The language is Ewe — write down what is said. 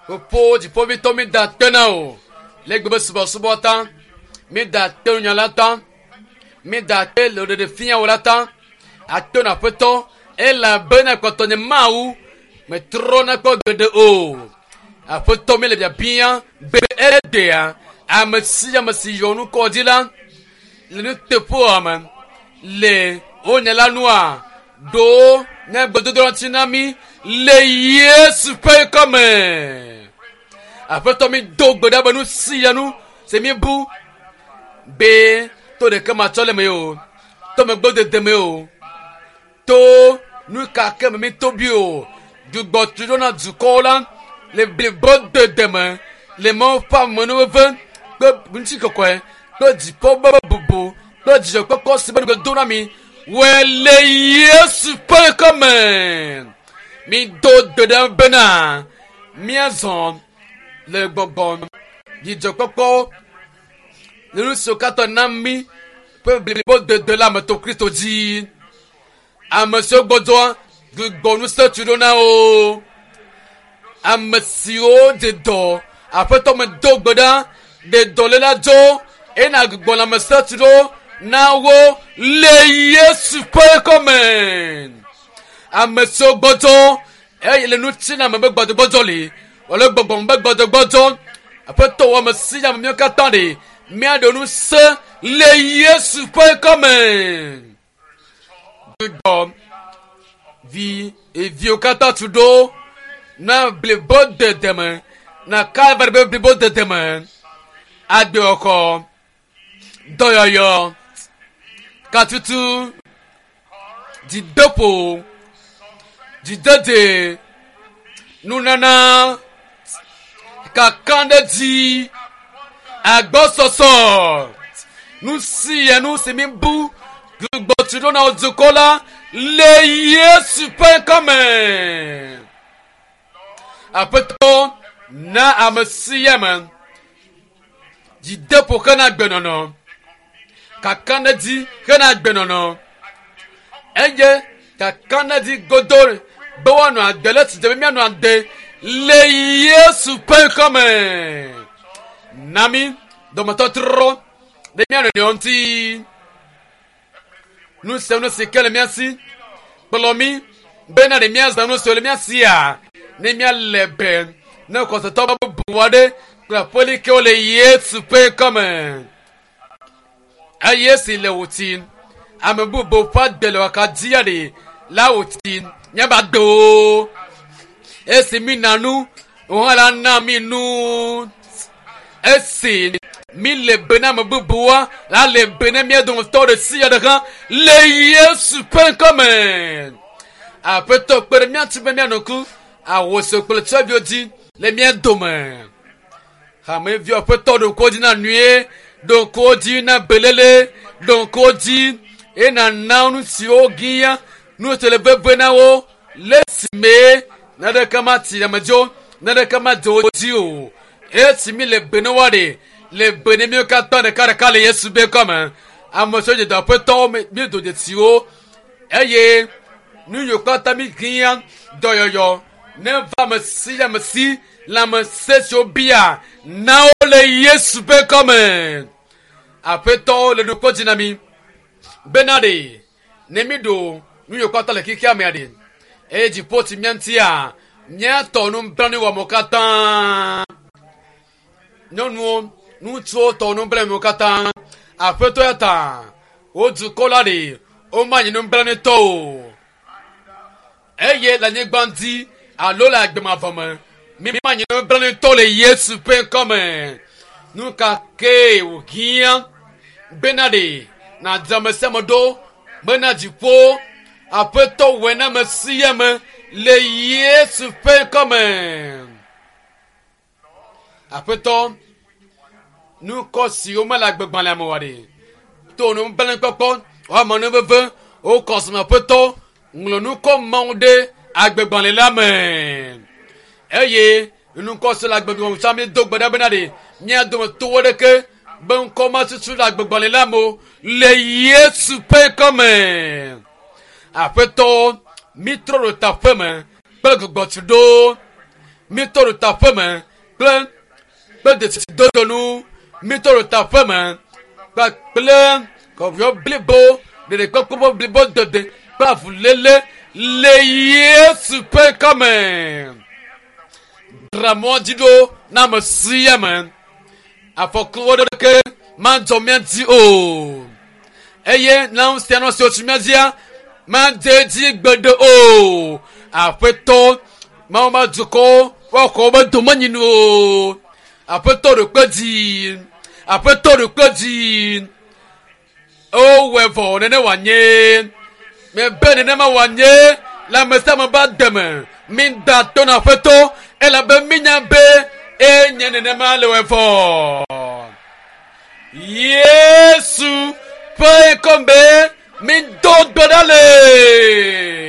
Fofo dziƒovitɔ mi da akpe na wò le gbe be subɔsubɔ ta. Mi da akpe nunya la ta. Mi da akpe le ɖeɖe fia wò la ta. Akpe na aƒetɔ elabena kpɔtɔ nye Mawu metrɔna kpɔ gbeɖe o. Aƒetɔ mi le biabia be egbea ame sia ame si yɔ nukɔ dzi la le nuteƒewɔwɔ me le wonye la nua ɖo nye gbedodoɖa ŋuti na mí le Yesu ƒe ŋkɔ me. Aƒetɔ mi do gbe ɖa be nu sia nu si mi bu be to ɖeke matsɔ le me o, to megbedede me o, to nu ka ke me mi to bi o, gbugbɔ tu ɖo na dukɔwo la le blibodede me le Mawu ƒe amenuveve kple ŋutikɔkɔe kple dziƒo ƒe bubu kple dzidzɔkpɔkpɔ si be ŋugbe do na mi wɔe le Yesu ƒe ŋkɔ me. Mi do gbe ɖa bena míazɔ le gbɔgbɔ dzidzɔkpɔkpɔ le nu siwo katã na mí ƒe blibodede la me to Kristo dzi. Ame siwo gbɔdzɔa gbugbɔ ŋusẽ tu ɖo na wo. Ame siwo dze dɔ aƒetɔ me do gbe ɖa ɖe dɔléla dzo eye gbugbɔ lãmesẽ tu ɖo na wo le Yesu ƒe ŋkɔ me. Ame siwo gbɔdzɔ eye le ŋutilãme be gbɔdzɔgbɔdzɔ li alo gbɔgbɔme be gbɔdzɔgbɔdzɔ aƒetɔ wɔ ame sia ame míawo katã ɖe míaɖe ŋusẽ le Yesu ƒe ŋkɔ me. Gbugbɔ vi eviwo katã tu ɖo na blibodede me na Kalvari be blibodede me agbewɔxɔ dɔyɔyɔ katutu dzideƒo dzidede nunana kakaɖedzi agbɔsɔsɔ nu sia nu si mi bu gbugbɔ tu ɖo na wo dukɔ la le Yesu ƒe ŋkɔ me. Aƒetɔ na ame sia ame dzideƒo hena agbenɔnɔ kakaɖedzi hena agbenɔnɔ eye kakaɖedzi godo be woanɔ agbe le si dze be míanɔ agbe le Yesu ƒe ŋkɔ me. Na mí dɔmetɔtrɔ ɖe mía nɔnɔewo ŋuti. Nu sia nu si ke le mía si kplɔ mí bena ɖe míazã nu siwo le mía sia ne míalé be ne xɔsetɔ bubu aɖe kple aƒelikewo le Yesu ƒe ŋkɔ me. Eye si le wò ti ame bubu ƒe agbe le wòaka dzia ɖe la wò ti míava agbewo. Esi mí na nu wò hã la na mí nu. Esi mí le be na ame bubuwoa la le be na mía dometɔ ɖe sia ɖe hã le Yesu ƒe ŋkɔ me. Aƒetɔ kpe ɖe mía ŋuti be míanɔ ŋku ahosi kple tsyɔ̃eviwo dzi le mía dome. Hameviwo aƒetɔ ɖo ŋku wo dzi na nyuie, ɖo ŋku wo dzi na beléle, ɖo ŋku wo dzi eye nàna nu siwo hiã, nu siwo le veve na wo le esime naneke mati ame dzi o, naneke madze wo dzi o. Esi mi le be ne woaɖe le be ne míwo katã ɖekaɖeka le Yesu be ŋkɔ me. Ame siwo dze dɔ aƒetɔwo míedo dzesiwo eye nu yiwo katã mi hiã dɔyɔyɔ ne va ame sia ame si lãmesẽ siwo bia na wo le Yesu ƒe ŋkɔ me. Aƒetɔwo le ɖokɔ dzi na mi bena ɖe ne mi ɖo nu yiwo katã le xexea mea ɖe eye dziƒo tsi mía ŋutia míatɔ nublanuiwɔamewo katã. Nyɔnuwo, ŋutsuwo tɔ nublanuiwo katã. Aƒetɔ ya ta wo dukɔ la ɖe womanyi nublanuitɔ o eye le anyigba dzi alo le agbemavɔ me mímanyi nublanuitɔ le Yesu ƒe ŋkɔ me. Nu ka kee wòhiã bena ɖe nàdze ame sia ame ɖo bena dziƒo aƒetɔ wɔe na ame sia ame le Yesu ƒe ŋkɔ me. Aƒetɔ, nukɔ siwo mele agbegbalẽa me oa ɖe to nublanuikpɔkpɔ woame nu veve wokɔ sime aƒetɔ ŋlɔ nukɔ mawo ɖe agbegbalẽ la me eye nukɔ si le agbegbalẽ me tsã míedo gbe ɖa bena ɖe mía dometɔ aɖeke be ŋkɔ matutu le agbegbalẽ la me o le Yesu ƒe ŋkɔ me. Aƒetɔ, mítrɔ ɖo taƒe me kple gbugbɔtu ɖo. Mitɔ ɖo ta ƒeme kple kple desidodo nu. Mitɔ ɖo ta ƒeme kpakple kɔviɔ blibo ɖeɖekpɔkpɔ blibo dede kple avuléle le Yesu ƒe ŋkɔme. Dzra mɔ dzi ɖo na ame sia ame. Afɔku aɖeke madzɔ mía dzi o. Eye lãŋusẽ nɔ siwo tsi mía dzia madze edzi gbeɖe o. Aƒetɔ Mawu ma dukɔwo woaxɔ woƒe domenyinu o. Aƒetɔ ɖo kpe dzi. Aƒetɔ ɖo kpe dzi. Wowɔe vɔ nene wòanye. Mebe nenema wòanye le ame sia ame ƒe agbe me. Mida to na Aƒetɔ elabe minya be enye nenema le wɔe vɔ. Yesu ƒe ŋkɔ me mido gbe ɖa le.